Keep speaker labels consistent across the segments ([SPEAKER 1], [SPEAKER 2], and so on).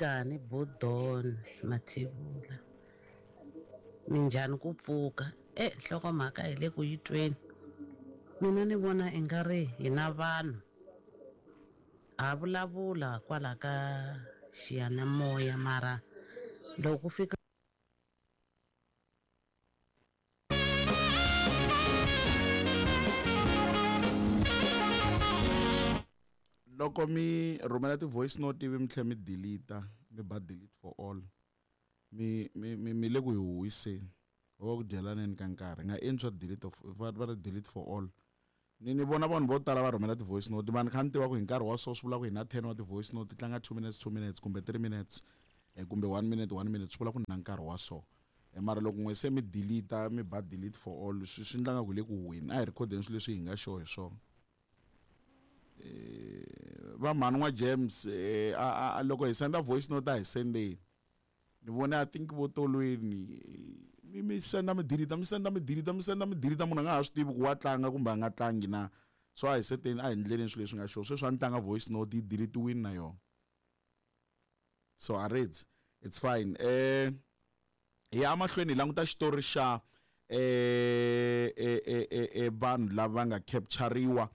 [SPEAKER 1] Nhlikani Budon Mathebula. Minjhani ku pfuka? E nhlokomhaka hi le ku yi tweni. Mina ni vona i nga ri hina vanhu ha vulavula kwala ka xiyanimoya mara loko ku fika
[SPEAKER 2] Loko mi rhumela ti-voice note ivi mi tlhela mi delete mi ba delete for all mi mi mi mi le ku hi huwiseni ho va ku dyelaneni ka nkarhi nga endli swa delete of va va ri delete for all ni ni vona vanhu vo tala va rhumela ti-voice note vanhu kha ni tiva ku hi nkarhi wa so swi vula ku hi na 10 wa ti-voice note ti tlanga 2 minutes 2 minutes kumbe 3 minutes eh, kumbe 1 minute 1 minute swi vula ku ni na nkarhi wa so eh, mara loko n'we se mi delete mi ba delete for all swi swi endla nga ku hi le ku huweni a hi rhikhodeni swilo leswi hi nga sure hi swona eh, va mhani n'wa James eh, a, a, loko hi senda voice note a hi sendeni ni vone I think vo tolweni mi mi senda mi delete mi senda mi delete mi senda mi delete munhu a nga ha swi tivi ku wa tlanga kumbe a nga tlangi na so a hi seteni a hi ndleleni swilo leswi nga sure sweswi a ni tlanga voice note yi deletiwini na yona so a reads it's fine eh hi ya mahlweni hi languta xitori xa eh eh eh, eh vanhu lava nga capturiwa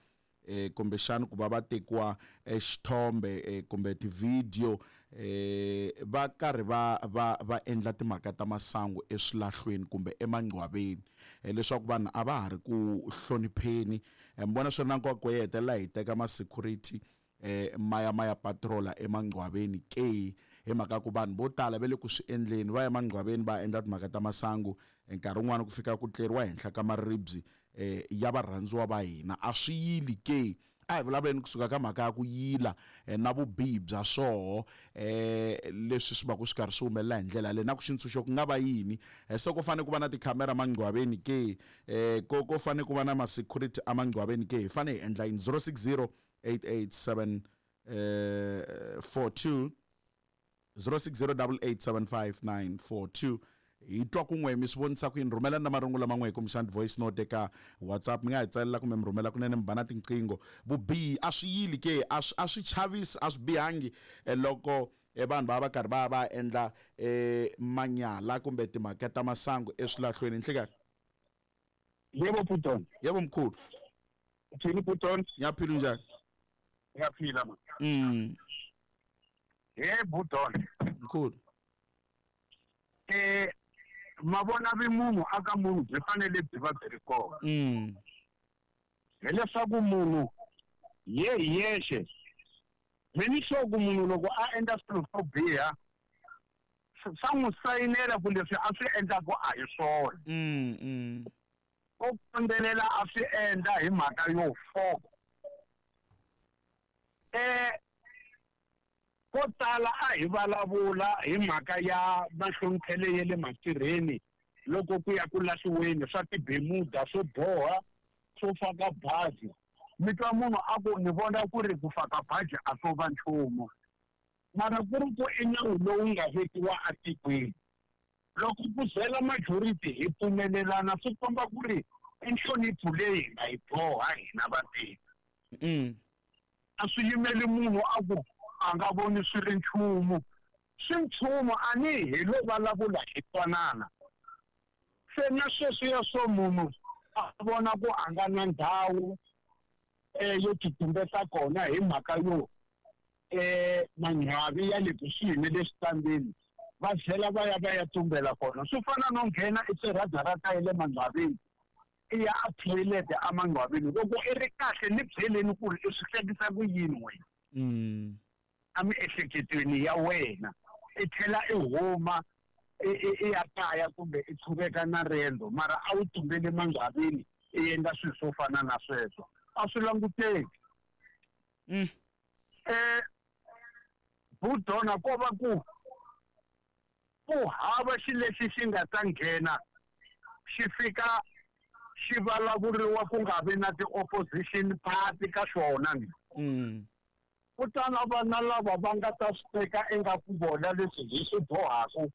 [SPEAKER 2] eh kumbexana ku va va tekiwa eh, xithombe eh, kumbe tivhidiyo eh va karhi va va va endla timhaka ta masangu eswilahlweni kumbe emangcwaveni eh, leswaku vanhu a va ha ri ku hlonipheni eh, mi vona swi ri na nkoka ku hi hetelela hi teka ma-security eh ma ya ma ya patrola emangcwaveni ke hi mhaka ku vanhu vo tala va le ku swi endleni va ya emangcwaveni va endla timhaka ta masangu nkarhi wun'wani ku fika ku tleriwa henhla ka maribye eh ya varhandziwa va hina a swi yili ke a hi vulavuleni kusuka ka mhaka ya ku yila eh, na vubihi bya swoho eh leswi swi va ku swi karhi swi humelela hi ndlela yaleyo na ku xintshunxo ku nga va yini eh, se ku fanele ku va na tikhamera mangcwaveni ke eh ko ko fanele ku va na ma-security emangcwaveni ke hi fanele hi endla yini 060 887 eh 42 0608875942 hi twa kun'we mi swi vonisa ku yini rhumelani na marungulo man'we hi kumbexana voice note eka whatsapp mi nga hi tsalela kumbe mi rhumela kunene mi ba na tinqingho vubihi a swi yili ke a swi a swi chavisi a swi bihangi eh, loko eh, vanhu va va karhi va va endla eh, manyala kumbe timhaka ta masangu eswilahlweni nhlikani
[SPEAKER 3] Yebo Puton.
[SPEAKER 2] Yebo mkhulu.
[SPEAKER 3] Uthini Puton?
[SPEAKER 2] Ngiyaphila unjani?
[SPEAKER 3] Ngiyaphila ma. Hey Puton.
[SPEAKER 2] Mkhulu.
[SPEAKER 3] Eh mavona vi munhu aka munhu byi fanele byi va byi ri kona. Hileswaku munhu ye hi yexe mi ni sure ku munhu loko a endla swilo swo biha swa n'wi sayinela ku leswi a swi endlaku a hi swona
[SPEAKER 2] mm, mm.
[SPEAKER 3] o kondzelela a swi endla hi mhaka yo foko eh ko tala a hi vulavula hi mhaka ya mahloniphele ya le matirheni loko ku ya ku lahliweni swa tibemuda swo boha swo faka baji mi twa munhu a ku ni vona ku ri ku faka baji a swo va nchumu mara ku ri ku i nawu lowu nga vekiwa atikweni loko ku zela majority hi pfumelelana swi komba ku ri i nhlonipho leyi hi nga yi boha hina vatirhi a swi yimeli munhu a ku a nga voni swi ri nchumu swi nchumu a ni hi lo vulavula hi twanana se na sweswiya swo munhu a vona ku a nga na ndhawu um yo titumbeta kona hi mhaka yo um manghwavi ya le kusuhi ni le switandini va tlhela va ya va ya tumbela kona swi fana no nghena eswirhadarata ya le manghwavini i ya a thoyilete emanghwavini loko i ri kahle ni byeleni ku ri i swi hlekisa ku yini wena emiehleketweni ya wena i tlhela i huma i ya kaya kumbe i qhuveka na riendzo mara a wu tumbele manghwavini i endla swilo swo fana na sweswo a swi languteki
[SPEAKER 2] mm.
[SPEAKER 3] eh budona ko va ku ku hava xi lexi xi nga ta nghena xi fika xi vulavuriwa ku nga vi na ti-opposition party ka xona ni
[SPEAKER 2] mm.
[SPEAKER 3] ku ta na vana lava va nga ta swi teka ingaku vona leswi hi swi bohaku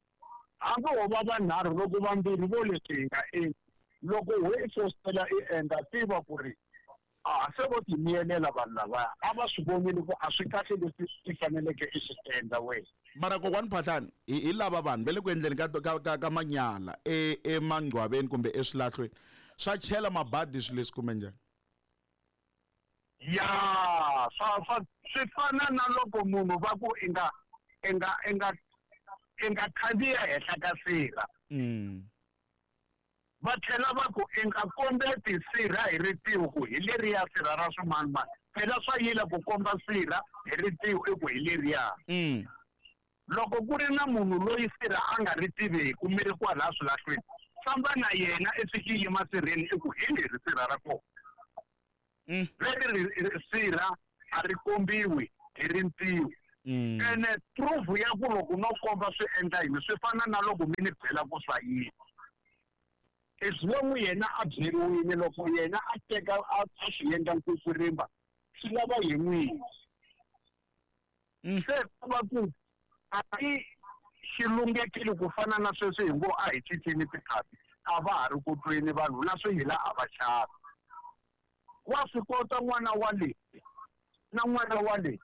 [SPEAKER 3] hambi ho va vanharhu loko vambirhi vo leswi hi nga endli loko ho i fositela i endla tiva ku ri A se vo ti miyelela vanhu lavaya a va swi vonile ku a swi kahle leswi i faneleke i swi endla wena.
[SPEAKER 2] Mara kokwani Phahlani hi hi lava vanhu va le ku endleni ka ka ka ka manyala e emangcwaveni kumbe eswilahlweni swa chela mabadi swilo leswi kumbe njhani?
[SPEAKER 3] Ya swa swa swi fana na loko munhu va ku i nga i nga i nga i nga khandziya henhla ka sirha. Va tlhela va ku, I nga kombeti sirha hi ritiho ku hi leriya sirha ra swimanimani. Phela swa yila ku komba sirha hi ritiho i ku hi leriya. Loko ku ri na munhu loyi sirha a nga ri tiveku mi ri kwalaya swilahlweni, famba na yena i fiki yima sirheni i ku hi leri sirha ra kona. Leri ri sirha a ri kombiwi hi rintiho. Ene proof ya ku loko no komba swi endla yini swi fana na loko mi ni byela ku swa yini. As long yena a byeriwile loko yena a teka a swi endla nkwikwirimba swi lava hi n'wini. Se ku va ku a i xi lunghekile ku fana na sweswi hi ngo a hi cinceni tikhapi a va ha ri ku tweni vanhu na swiyila a va xavi. Wa swi kota n'wana wa le na n'wana wa le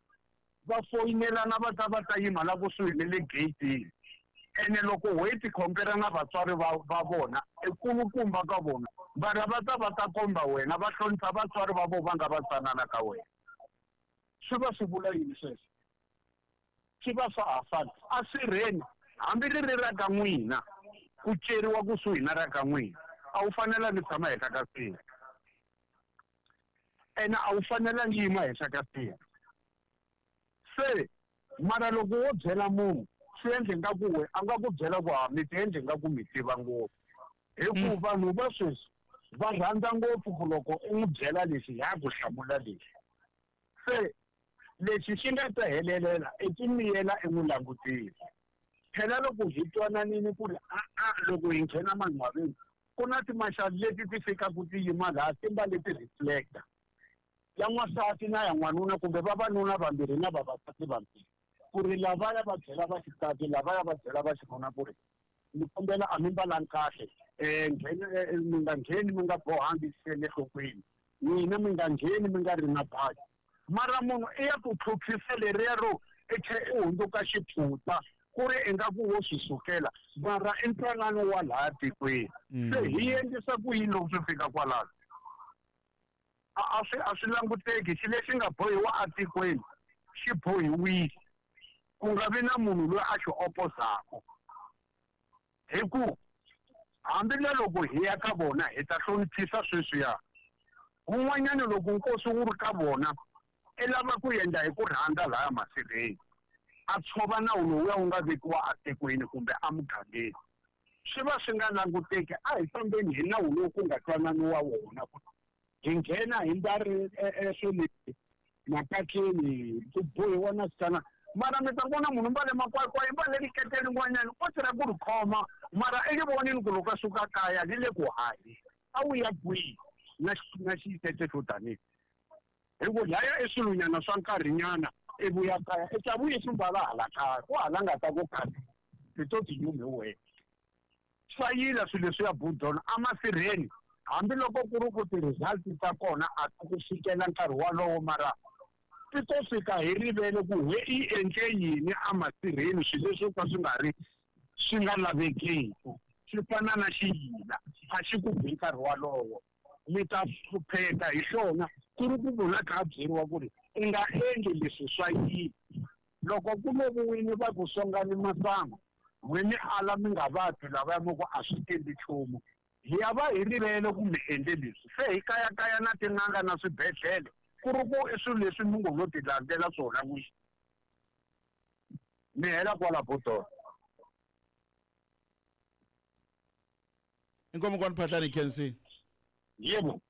[SPEAKER 3] va foyinelana va ta va ta yima la kusuhi ni le geyitini ene loko ho yi tikhompera na vatswari va va vona i kulukumba ka vona mara va ta va ta komba wena va hlonipha vatswari va vona va nga va tsanana ka wena swi va swi vula yini sweswo swi va swa ha fani a sirheni hambi ri ri ra ka n'wina ku ceriwa kusuhi na ra ka n'wina a wu fanelangi tshama henhla ka sirha ene a wu fanelangi yima henhla ka sirha se mara loko wo byela munhu swi endle nga ku we a nga ku byela ku ha mi ti endle nga ku mi tiva ngopfu hi ku vanhu va sweswi va rhandza ngopfu ku loko u n'wi byela lexi ya ku hlamula lexi se lexi xi nga ta helelela i ku miyela i n'wi langutile phela loko hi twananini ku ri a-a loko hi nghena manghwaveni ku na timaxali leti ti fikaka ti yima laha ti mbale ti-reflector ya n'wansati na ya n'wanuna kumbe vavanuna vambirhi na vavasati vambirhi ku ri lavaya va byela va xisati lavaya va byela va xinuna ku ri ni kombela a mi mbalangi kahle um mi nga ngheni mi nga bohangi le nhlokweni n'wina mi nga ngheni mi nga ri na baki mara munhu i ya ku tlhutlhisa leriya ro i tlhe i hundzuka xiphuta ku ri ingaku wo swi sukela mara i ntwanano wa laha tikweni se hi endlisa ku yini loko swi fika kwalano a swi a swi languteki xi lexi nga bohiwa atikweni xi bohiwile ku nga vi na munhu loyi a xi opozaka hi ku hambi na loko hi ya ka vona hi ta hloniphisa sweswiya wun'wanyana loko nkosi wu ri ka vona i lava ku endla hi ku rhandza laya masirheni a tshova nawu lowuya wu nga vekiwa atikweni kumbe emugangeni swi va swi nga languteki a hi fambeni hi nawu lowu ku nga twananiwa wona ku hi nghena hi mbari swo leswi makatleni ku bohiwa na switana mara mi ta vona munhu mbale makwakwa i mbale rikete rin'wanyana o tirha ku ri khoma mara i ri vonini ku loko a suka kaya ri le ku hahi a wu ya kwihi na na xitete xo tanihi hi ku laya i swilonyana swa nkarhinyana i vuya kaya i ta vuye swi mbala hala kaya ku hala nga ta ku kahle ti to ti nyumi hi wena swa yila swilo leswiya budona emasirheni hambiloko ku ri ku ti-result ta kona a ti ku fikela nkarhi walowo mara ti to fika hi rivele ku he i endle yini emasirheni swilo leswi ka swi nga ri swi nga lavekiku swi fana na xiyila a xi ku bi nkarhi walowo mi ta hlupheka hi xona ku ri ku munhu a kha a byeriwa ku ri i nga endli leswi swa yini loko ku loviwile va ku songani masangu n'we mi ala mi nga vabyi lavaya mi ku a swi endli nchumu hi ya va hi rivele ku mi endle leswi se hi kayakaya na tin'anga na swibedhlele ku ri ku i swilo leswi mi ngo lo ti landzela swona n'wini mi hela kwala botolo.
[SPEAKER 2] Inkomo kwani Phahlane Khensi.
[SPEAKER 3] Yebo.